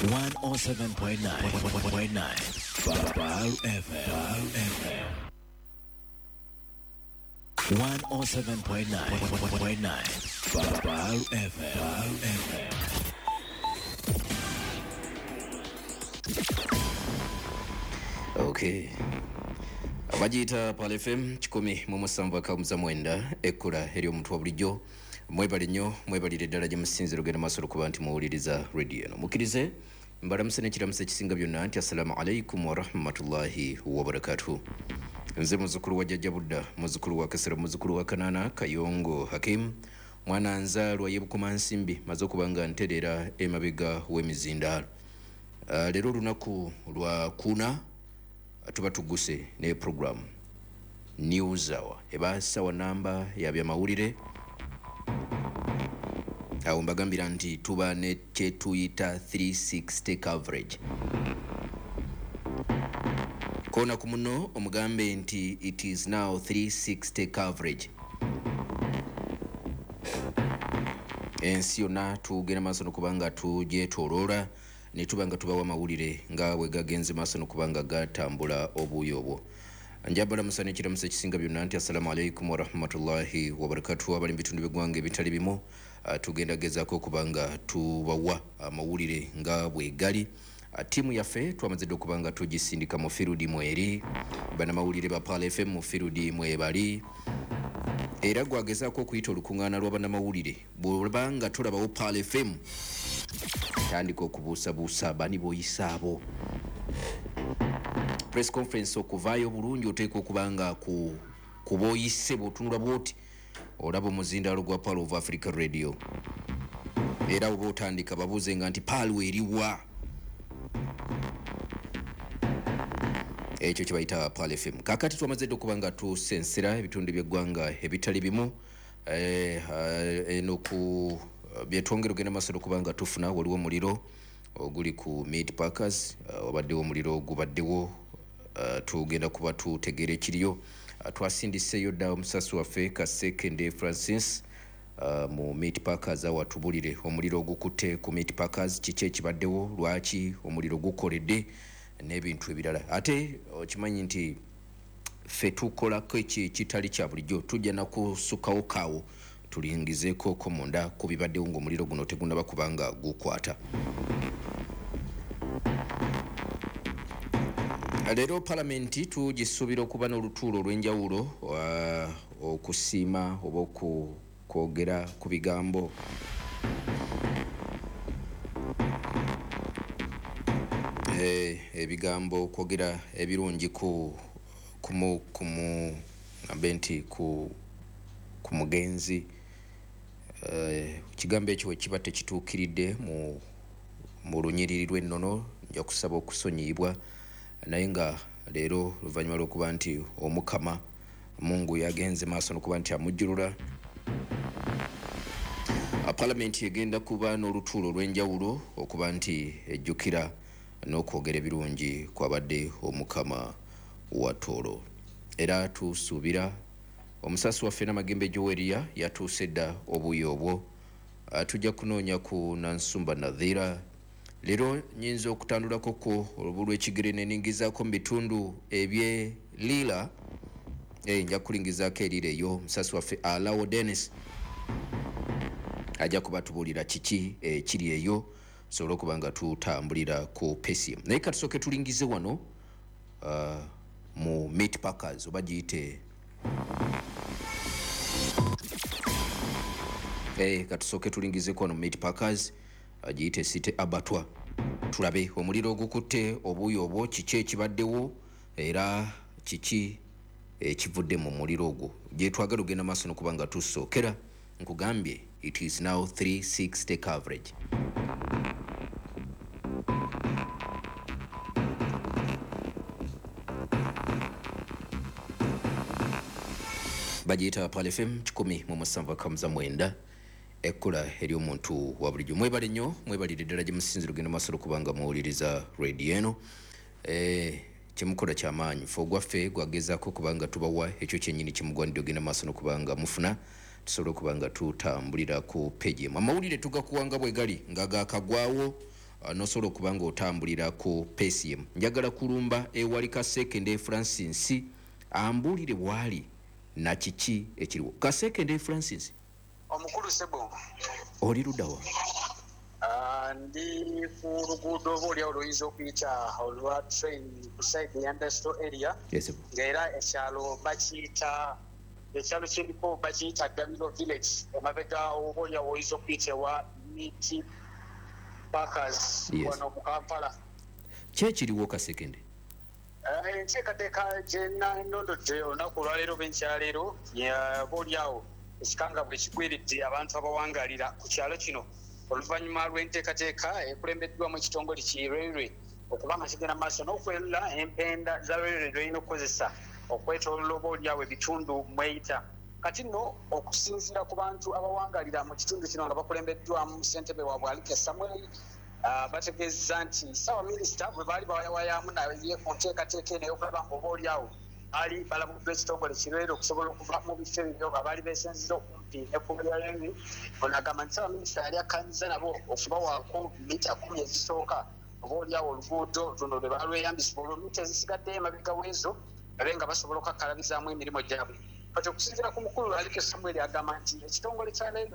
107.9 Pearl FM. 107.9 Pearl FM. Okay. Abagiyita Pearl FM 107.9 ekkula ery'omuntu wa bulijjo. Mwebale nnyo, mwebalire ddala gye musinzira ogenda maaso olwokuba nti muwuliriza radio eno. Mukkirize mbalamuse n'ekiramuso ekisinga byonna nti assalamu alaikum warahmatullahi wabarakatuhu. Nze muzzukulu wa Jjajja Budda, muzzukulu wa Kasero, muzzukulu wa Kanaana Kayongo Hakim, mwana nzaalwa y'e Bukomansimbi, maze okuba nga ntereera emabega w'emizindaalo. Leero olunaku lwa kuna tuba tuguse ne program News Hour eba sawa namba ya byamawulire. Awo mbagambira nti tuba ne kyetuyita 360 coverage. Kona ku muno omugambe nti it is now 360 coverage. Ensi yonna tugenda maaso n'okubanga tugyetooloola ne tuba nga tubawa amawulire nga bwe gagenze maaso n'okubanga gatambula obuuyi obwo. Njabala musana ekiramuso ekisinga byonna nti assalamu alaikum warahmatullahi wabarakatuh. Abali mu bitundu by'eggwanga ebitali bimu tugenda gezaako okubanga tubawa amawulire nga bwe gali. Ttiimu yaffe twamaze dda okubanga tugisindika mu firudi mweri, bannamawulire ba Pearl FM mu firudi mwebali. Era gwagezaako okuyita olukuŋŋaana lwa bannamawulire, bw'obanga tolabawo Pearl FM tandika okubuusabuusa bani b'oyisa abo. Press conference okuvaayo bulungi oteekwa okuba nga ku b'oyise bw'otunula bw'oti olaba omuzindaalo gwa Pearl of Africa Radio. Era oba otandika babuuze nga nti Pearl eriwa. Ekyo kye bayita Pearl FM. Kaakati twamaze dda okuba nga tusensera ebitundu by'eggwanga ebitali bimu. Eno ku byetwongera ogenda maaso n'okuba nga tufuna, waliwo omuliro oguli ku Meat Packers, wabaddewo omuliro gubaddewo, tugenda kuba tutegeera ekiriyo. Twasindiseeyo dda omusasi waffe Kasekende Francis mu Meat Packers awatubulire omuliro ogukutte ku Meat Packers, kiki ekibaddewo, lwaki omuliro gukoledde n'ebintu ebirala. Ate okimanyi nti ffe tukolako ekitali kya bulijjo, tujja nakusukawo kaawo tulingizeeko ko munda ku bibaddewo ng'omuliro guno tegunnaba kubanga gukwata. Leero palamenti tugisuubira okuba n'olutuulo olw'enjawulo okusiima oba okwogera ku bigambo ebigambo okwogera ebirungi ku ngambe nti ku mugenzi. Ekigambo ekyo bwe kiba tekituukiridde mu lunyiriri lw'ennono nja kusaba okusonyiyibwa, naye nga leero oluvannyuma lw'okuba nti Omukama Mungu yagenze maaso n'okuba nti amujjulula, palamenti egenda kuba n'olutuulo olw'enjawulo okuba nti ejjukira n'okwogera ebirungi kwabadde Omukama wa Tooro. Era tusuubira omusasi waffe Namagembe Joweria yatuuse dda obuuyi obwo. Tujja kunoonya ku Nansumba Nadhira. Leero nnyinza okutandulako ku olubu lw'ekigere ne ningizaako mu bitundu eby'e Lira. Nja kulingizaako erira eyo. Omusasi waffe Alawo Dennis ajja kubatubuulira kiki ekiri eyo tusobole okuba nga tutambulira ku pesi. Naye katusooke tulingize wano mu Meat Packers oba giyite katusooke tulingizeko wano mu Meat Packers giyite City Abattoir, tulabe omuliro ogukutte obuuyi obwo, kiki ekibaddewo era kiki ekivudde mu muliro ogwo. Gye twagala ogenda maaso n'okuba nga tusookera, nkugambye it is now 360 coverage. Bagiyita Pearl FM 107.9 ekkula ery'omuntu wa bulijjo. Mwebale nnyo, mwebalire ddala gye musinzira ogenda maaso okuba nga muwuliriza radio eno. Kyemukola kyamaanyi, ffe ogwaffe gwagezaako okuba nga tubawa ekyo kyennyini kyemugwanidde ogenda maaso n'okuba nga mufuna, tusobole okuba nga tutambulira ku page emu. Amawulire tugakuwanga bwe gali nga gakagwawo. Nosobola okuba nga otambulira ku pace emu. Njagala kulumba ewali Kasekende Francis ambuulire bwali na kiki ekiriwo. Kasekende Francis. Omukulu sebo. Oli luddawa? Ndi ku luguudo oba oliawo lwoyinza okuyita olwa train ku side ya industrial area. Yes. Ng'era ekyalo bakiyita, ekyalo kiriko bakiyita Gabiro Village, emabega oba oliawo oyinza okuyita ewa Meat Packers. Wano mu Kampala. Ki ekiriwo, Kasekende? Enteekateeka gye nandondodde olunaku olwaleero oba enkyaleero, oba oliawo ekikanga bwe kigwiridde abantu abawangalira ku kyalo kino oluvannyuma lw'enteekateeka ekulembeddwamu ekitongole ki railway okuba nga kigenda maaso n'okwerula empenda za railway lw'erina okukozesa okwetoolola oba oliawo ebitundu mweyita. Kati nno okusinziira ku bantu abawangalira mu kitundu kino nga bakulembeddwamu ssentebe waabwe Alike Samuel, bategeeza nti ssaabaminisita bwe baali bawayawayamu naye ku nteekateeka eno ey'okulaba nga oba oliawo baali balabuddwa ekitongole kireere okusobola okuva mu bifo ebyo nga baali beesenziza okumpi n'ekkubo lya railway. Ono agamba nti ssaabaminisita yali akkanyiza nabo okubawaako mita 10 ezisooka oba oliawo oluguudo luno lwe balweyambisa, olwo mita ezisigaddeyo emabega w'ezo babe nga basobola okukakkalabizaamu emirimu gyabwe. Kati okusinziira ku mukulu Alike Samuel, agamba nti ekitongole kya railway